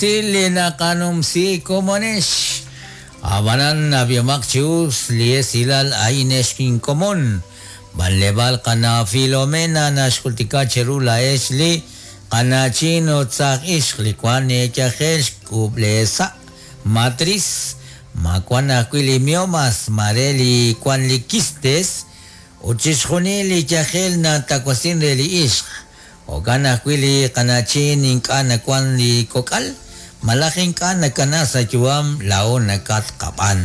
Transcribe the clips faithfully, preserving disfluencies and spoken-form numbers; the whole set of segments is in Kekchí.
Li naqanumsi komonex abanan abiomaq chius li esilal ainex kinkomon banlebal qana Filomena naxjultika cheru la ex li qanachin otzaj ix li kwan yajel xk'ub'lesa matriz ma kwan ajwi' li miomas mare li kwan li quistes ut chixjunil li yajel natawasin re li ixq okan ajwi' li qanachin ink'a' nakwan li kok'al malaj ink'a' nakana sa' yu'am lao nakatqab'an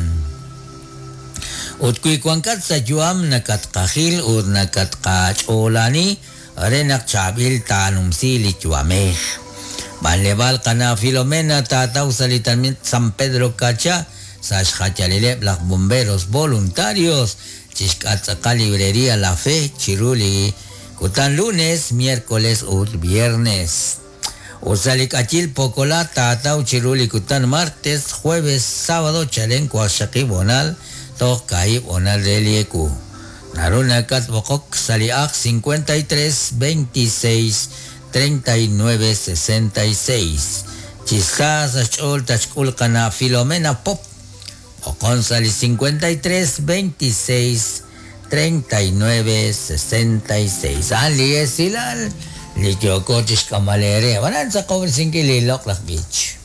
ut wi wankat sa' yu'am nakatqajil ut nakatqach'oolani re naq chaab'il taanumsi li yu'amej banlebal qana Filomena taataw sa' li tenamit San Pedro Cacha sa' xjayalileb' laj bomberos voluntarios chixk'atz'aqal librería La Fe chiru li kutan lunes, miércoles ut viernes. Usalikachil pokola taataw chiru li kutan martes, jueves, sábado chalen waqxaqib' onal toj kaib' onal re li eku. Naru nakat b'oqok sa' li aj cincuenta y tres, veintiséis, treinta y nueve, sesenta y seis. Chisa sa xch'ool tachk'ul qana Filomena Pop. B'oqon sa' li cincuenta y tres, veintiséis, treinta y nueve, sesenta y seis. Ali esilal li yoko chixk'amalere. Banan sa kobr sinkili Loklak Beach.